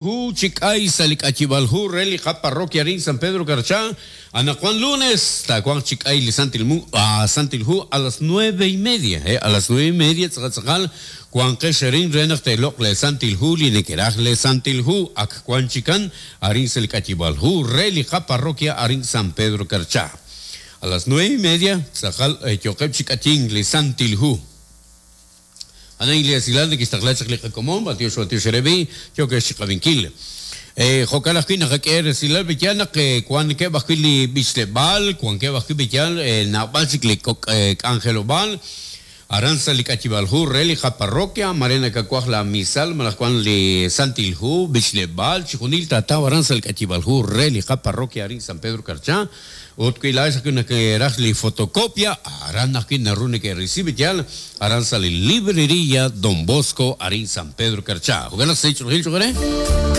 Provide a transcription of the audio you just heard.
Hu chi k'ay sa' li k'ayib'aal hu re li qaparroquia arin San Pedro Carchá. Anaqwan lunes taawanq chi k'ay li Santil Mu, Santil Hu a las nueve y media, eh, a las nueve y media tz'aqal tz'aqal wanqex arin re naq teeloq' lee Santil Hu li nekeraj lee Santil Hu ak wan chikan arin sa' li k'ayib'aal hu re li qaparroquia arin San Pedro Carchá. A las nueve y media tz'aqal yooqeb' chi k'ayink li Santil Hu. A'an li esilal nekextaqla chaq li qakomon, b'antiox b'antiox eere b'i', yookex chiqab'inkil. Jo'kan ajwi' naqak'e resilal b'iyal naq wankeb' ajwi' li b'ichleb'aal, wankeb' ajwi' b'iyal naab'al chik li kok' k'anjelob'aal aran sa' li k'ayib'aal hu re li qaparroquia, mare nakawaj la misal malaj wan li Santil Hu, b'ichleb'aal, chixjunil taataw aran sa' li k'ayib'aal hu re li qaparroquia arin San Pedro Carchá. Ut wi laa'ex ajwi' nekeeraj li fotocopia, aran ajwi' naru neke'risi b'iyal, aran sa' li Librería Don Bosco arin San Pedro Carchá. Jo'kan naq sa' ch'oolejil cho'q eere.